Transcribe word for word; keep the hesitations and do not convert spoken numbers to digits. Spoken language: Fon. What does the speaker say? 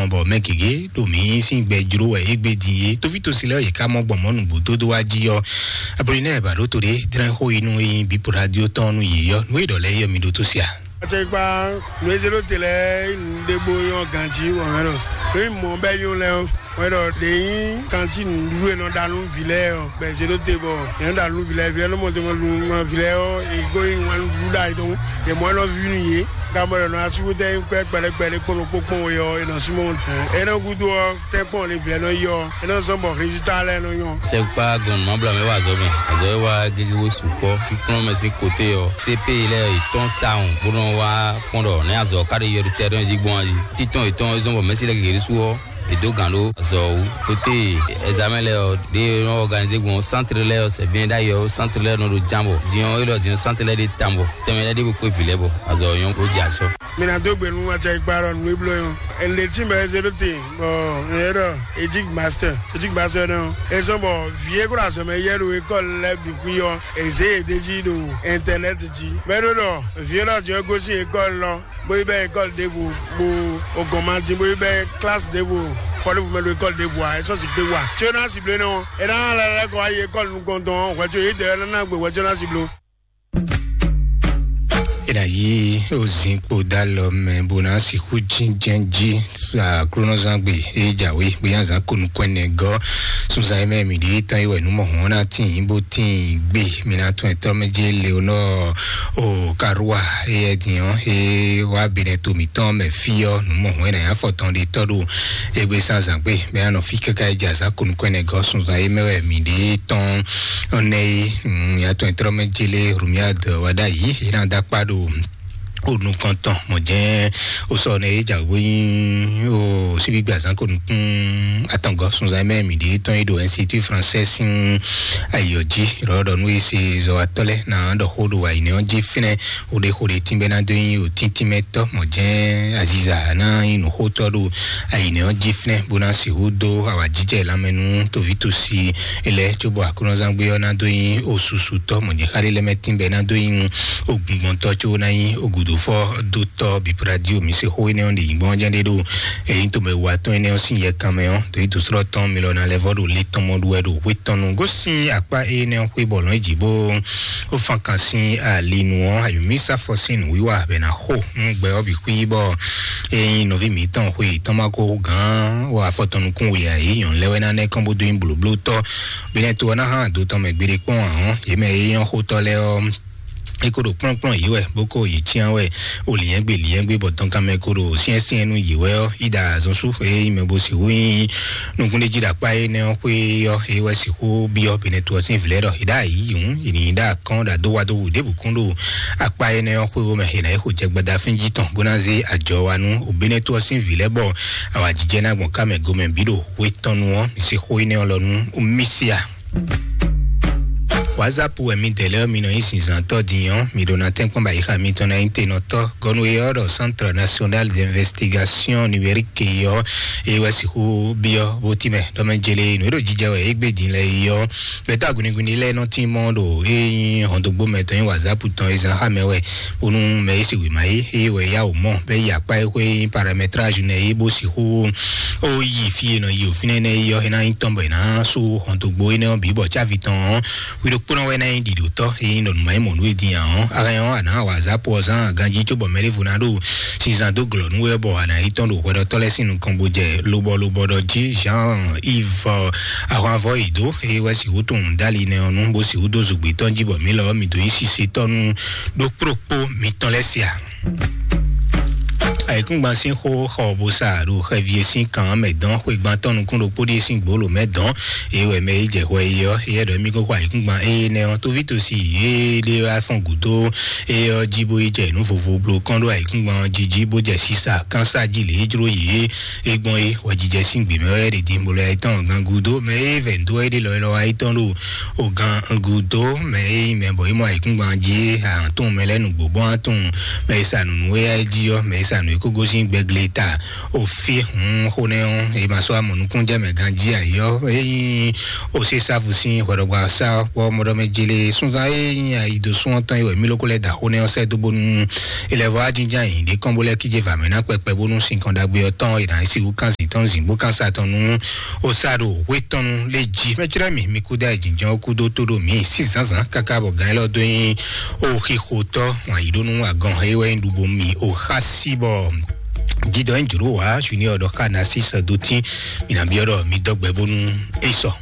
Bɔ mɛ gěgé ɖo mǐ sín gbɛ jló wɛ égbé din é. Tófítɔ́sí lɛ́ɛ yě ká mɔ gbɔn mɔ̌ nǔgbó dódó wá jí ɔ́. Apolinɛ́ɛ Bǎɖótó ɖé dlɛ́n xó yi nú éyí bǐ Puradió tɔn nú yě ɔ́. Nú é ɖɔ lɛ́ɛ yɔ mǐ ɖótó sia. Acɛkpa nǔ e zé ɖó te lɛ́ɛ ɖé bó nyɔ́ ganjí wɔ mɛ ɖɔ. Nǔ e mɔ bɛ́ nyɔ́ lɛ́ɛ ɔ́, wɛ ɖɔ ɖě nyí ganjí nǔɖuɖu e nɔ ɖa nú vǐ lɛ́ɛ ɔ́, bɛ zé ɖó te bɔ yě nɔ ɖa nú vǐ lɛ́ɛ, vǐ lɛ́ɛ nɔ mɔ te mɔ nú vǐ lɛ́ɛ ɔ́, yě gó nyí wǎn nǔɖuɖu ɖa yě ɖɔhun. Yě mɔ nɔ ví nú yě. Gamɔ ɖɔ nɔ asúkútɛ nyí kpɛ́ kpɛɖɛkpɛɖɛ kpɔ́n ɖokpó kpɔ́n we ɔ́, è nɔ súnmọ́. É nɔ gúdo ɔ́, tɛ́nkpɔ́n lě vǐ lɛ́ɛ nɔ yi ɔ́, é nɔ zɔ́n bɔ résultat lɛ́ɛ nɔ nyɔ́. Sɛkpa gɔn nɔ mabla mɛ wa azɔ mɛ. Azɔ e wa gege wo sukpɔ. Kplɔn mɛ sín kote ɔ́, C P I lɛ yě tɔn tawun bó nɔ wá fɔn ɖɔ nɛ́ azɔ ká ɖe yɔɖutɛ́ ɖɔn jí gbɔn ayi. Títɔn yětɔn e zɔ́n bɔ mɛsí lɛ gege ɖésú ɔ́, è dó gǎn ɖó azɔ wú. Kote ɛzamɛ lɛ ɔ́, ɖé nɔ organiser gbɔn centre lɛ ɔ́, c'est bien d'ailleurs centre lɛ nɔ ɖo ján bɔ. Din ɔ́, é ɖɔ din centre lɛ ɖe tan bɔ. Tɛmɛ lɛ ɖé bó kpé vǐ lɛ bɔ. Azɔ nyɔ́ bó jɛ asɔ. Mi na dó gbe nú acɛkpa ɖɔ nǔ e bló nyɔ́. Ɛnlɛ tí mɛ zé ɖó te, bɔ nyɛ ɖɔ Egypt Master, Egypt Master nɔ. É sɔn bɔ vǐ e kó ɖo azɔ̌ mɛ yɛ ɖo école lɛ́ɛ bǐ xwí ɔ́, è zě yě d'é jí ɖo internet jí. Mɛ ɖó ɖɔ vǐ e ɖɔ jɛ gosín école lɔ, bó yi bɛ école ɖěvo, bó o gɔn ma dín, bó yi bɛ classe ɖěvo, xɔ ɖěvo mɛ ɖo école ɖěvo a, é sɔ́ sì gbé wa. Tso ná sì blé nɔ, é ná lɛ lɛ kɔ wá yi école nukɔntɔn, hwɛ̌ tso yě dɛ ná ná gbe hwɛ̌ tso ná sì bló. Ena yi ozin kpo da lɔ mɛ bo na sixú jinjɛn ji aklunɔzangbe e jawe gbeyanzan konu kwɛnɛ gɔ sunzan yi mɛ mi ɖi tɔn yi wɛ numɔ hɔn na tin bo tin gbe mi na tún ɛtɔ mɛ je leonɔ o karua eyɛ diɔ e wa benɛ to mitɔn mɛ fi ɔ numɔ hɔn ena ya fɔtɔn de tɔ do egbe sanzan gbe mɛ anɔ fi kaka yi jazan konu kwɛnɛ gɔ sunzan yi mɛ wɛ mi ɖi tɔn. Ɔnɛ yi ya tɔn ɛtrɔ mɛ jele rumia dɔ wa ɖa yi ena da kpa do o nukɔntɔn mɔ jɛ o sɔ ne e ja wo yin o sibi gba zan ko nukun atɔngɔ sunzan mɛ mi de tɔn e do institut français sin ayɔ ji rɔ dɔ nu ese zɔ atɔ lɛ na dɔ xo do wa yi ne ɔn ji finɛ o de xo de tin bɛ na do yin o tintin mɛ tɔ mɔ jɛ aziza na yin nu xo tɔ do ayi ne ɔn ji finɛ bo na si wu do awa jijɛ lamɛnu tovi tosi elɛ tso bɔ aklɔnzangbe ɔ na do yin o susu tɔ mɔ jɛ xali lɛ mɛ tin bɛ na do yin ogungbɔntɔ tso na yin ogudofɔ do tɔ bipradi omi se xo ene ɔn de yin gbɔn jɛ de do eyin to mɛ wa tɔn ene ɔn sin yɛ kan mɛ ɔn to yi to srɔ tɔn mi lɔ na lɛ vɔ do le tɔn mɔ do wɛ do hwe tɔn nu gosin akpa ene ɔn xwe bɔ lɔn eji bo o fan kan sin ali nu ɔn ayumi safɔ sin nu wiwa bɛ na xo nu gbɛ ɔ bi xwi bɔ eyin nɔvi mi tɔn xwe tɔn ma ko gan wɔ afɔ tɔn nukun wi ayi nyɔn lɛ wɛ na nɛ kɔn bo do yin bloblo tɔ bɛ nɛ to ɔ na hã do tɔn mɛ gbeɖe kpɔn ahɔn yemɛ eyin xo tɔ lɛ ɔ eko ɖo kplɔ́nkplɔ́n yě wɛ bó kó yě cyán wɛ o lǐnyɛ́gbe lǐnyɛ́gbe bɔ dɔnkanmɛ ko ɖo syɛ́nsyɛ́n nú yě wɛ ɔ́ yi ɖo azɔn sú e yi mɛ bo sixú nyí nukúnɖéjí ɖo akpá énɛ́ ɔ́ xwé ɔ́ é wɛ sixú byɔ́ benɛtu ɔ́ sín vǐ lɛ́ɛ ɖɔ è ɖo ayǐ hǔn è nǐ ɖo akɔ́n ɖo adó wa dó wǔ ɖěbǔ kún ɖo akpá énɛ́ ɔ́ xwé wó mɛ è nǎ yi xo jɛ gbada fín jí tɔn bó ná zé ajɔ wa nú o benɛtu ɔ́ sín vǐ lɛ́ɛ bɔ awǎjijɛ ná gbɔn ká mɛ gomɛ bǐ ɖo hwe tɔn nu ɔ́ mi sixú énɛ́ ɔ́ lɔ nú misia. WhatsApp wɛ mi dɛ lɛ mi nɔ nyi zinzantɔ din ɔ́ mi ɖo na tɛnkpɔn ba yixa mitɔn na nyi tenɔtɔ gɔnu e ɔ́ ɖɔ Centre National d'Investigation Numérique ɔ́ e wɛ sixú biɔ bó ti mɛ ɖɔmɛ jele nu e ɖo jijɛ wɛ egbe din lɛ yi ɔ́ gbɛtɔ aguniguni lɛ nɔ tin mɔ ɖo e nyi hɔndogbo mɛ tɔn nyi WhatsApp tɔn e zan xa mɛ wɛ bónú mɛ e si wěma é eye wɛ ya wò mɔ bɛ yi akpa e xwé paramétrage nɛ é bó sixú ó yi fí e nɔ yi òfin énɛ́ yi ɔ́ é ná nyí tɔn bɔ è nǎ sú hɔntogbo énɛ́ ɔ́ bǐ bɔ cávi tɔn ɔ́ hwi ɖokpónɔ wɛ ná nyí ɖiɖotɔ́ é nyí nɔnùmá nyí mɔ̌ nú é din ǎ ɔ́ ahɛn ɔ́ a nǎ wa zǎpo ɔ́ zán ganjí cóbɔ mɛɖěvo ná ɖo sinzan dó glɔ̌ nú wɛ bɔ a nǎ yi tɔn ɖo hwɛɖɔtɔ́ lɛ́ɛ sín nukɔn bó jɛ lobɔ lobɔ ɖɔ jí Jean Yves ahwanvɔ yi dó é wɛ sixú tunwun dali nɛ ɔ́ nú bó sixú dó zogbe tɔn jí bɔ mǐ lɔ ɔ́ mǐ dó nyí sise tɔn nú ɖokpó ɖokpó mitɔn lɛ́ɛ sia. Ayǐkúngban sín xó xɔ bó sa ɖo xɛvi e sín kan mɛ dɔn xwegban tɔn nukún ɖokpó ɖíe sín gbolo mɛ dɔn eye wɛ mɛ yi jɛ hwɛ yi ɔ́ eye ɖɔ émí kó xɔ ayǐkúngban eye nɛ ɔ́ tóví tosi eye ɖé wá fɔn gǔdo eye ɔ́ jí bó yi jɛ nǔ vovo blo kɔn ɖó ayǐkúngban ɔ́ jí jí bó jɛ sisa kánsa jí lě é jló yi é gbɔn é hwɛjijɛ sín gbě mɛ wɛ ɖe dín bolo ayítɔn gan gúdo mɛ eye vɛ dó é ɖé lɔ é lɔ ayítɔn ɖo o gan gúdo mɛ eye mɛ bɔ é mɔ ayǐkúngban jí ahàn tún mɛ lɛ nǔgbó bɔn atún mɛ e sa nǔnú é jí ɔ́ mɛ e sa nǔ é kó gosín gbɛgle ta o fi hun xó nɛ ɔ́ e ma sɔ́ amɔ nukúnjɛ mɛ ganjí ayɔ eyin o se savu sín hwɛɖɔgba sa kpɔ mɔɖɔmɛ jele sunzan eyin ayi do sún ɔtɔn yi wɛ mí lóko lɛ da xó nɛ ɔ́ sɛ dó bónú ilẹ̀ vɔ ajínján yìí ɖé kɔn bó lɛ kíje vǎmɛ ná kpɛkpɛ bónú sinkɔn ɖagbe ɔ́ tɔn e nǎ si wú kánsi tɔn zǐngbó kansa tɔn nú osaɖo hwetɔnu lé jí mɛtsrɛ mi mi kú dá ìjìnjɔn kú dó tó ɖo mí sí zǎnzǎn káká bɔ gán élɔ́ dó nyi o xixotɔ wọn yí ɖó nú agɔn é wɛ nyi ɖubo mi o xa sí bɔ jidɔ nyi jòɖó wá junior ɖɔ xa na sí sɔ dó tí mi nà byɔ́ ɖɔ mi dɔgbɛ bónú é sɔ.